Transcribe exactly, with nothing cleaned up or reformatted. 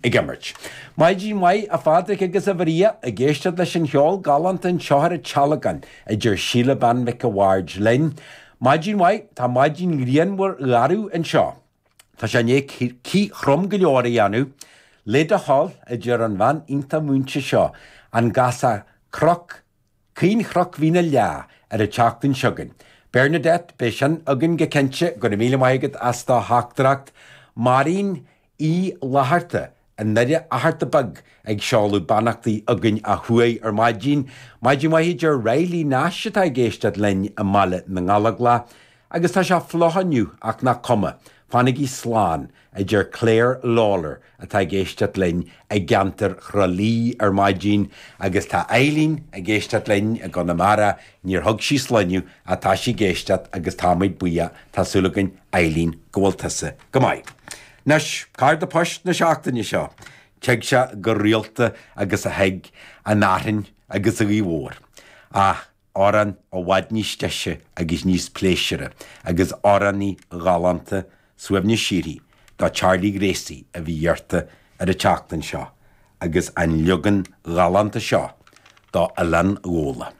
ag imirt. Maidin mhaith a Phádraig agus a Mharia ag éisteacht leis an cheol galánta anseo ar an Tealgán a deir Síle Bean Mhic a' Bhaird linn. Maidin mhaith tá maidin ghrianmhar gharbh anseo. Tá sé i ndiaidh cith throm go leor a dhéanamh, le do thoil a deir an bhean iontach múinte seo an gcasfá Cnoc Caoinchnoc Mhín an Leá ar an tseachtain seo chugainn. Bernadette beidh sin againn go cinnte go raibh míle maith agat as do theachtaireacht Máirín Uí Fhlatharta i nDoire Fhatharta Beag ag seoladh beannachtaí againn ó thuaidh ar maidin, Maidin mhaith a deir Riley Nash atá ag éisteacht linn i mBaile na nGallóglach, agus tá sé fliuch inniu ach nach cuma, fanaigí slán a deir Claire Lawler atá ag éisteacht linn i gceantar Thrá Lí ar maidin agus tá Eileen ag éisteacht linn i gConamara níor thug sí sloinne ach tá sí ag éisteacht agus táimid buíoch tá súil againn Eileen go bhfuil tusa go maith. Anois cárta poist na seachtaine seo, tig sé go rialta agus a thig an fhearthainn agus an ghaoth mhór. Ach amhrán i bhfad níos deise agus níos pléisiúrtha agus amhránaí galánta suaimhneas síoraí do Charlie Gracie a bhí iarrta ar an tseachtain seo agus an leagan galánta seo do Oileán Ghabhla.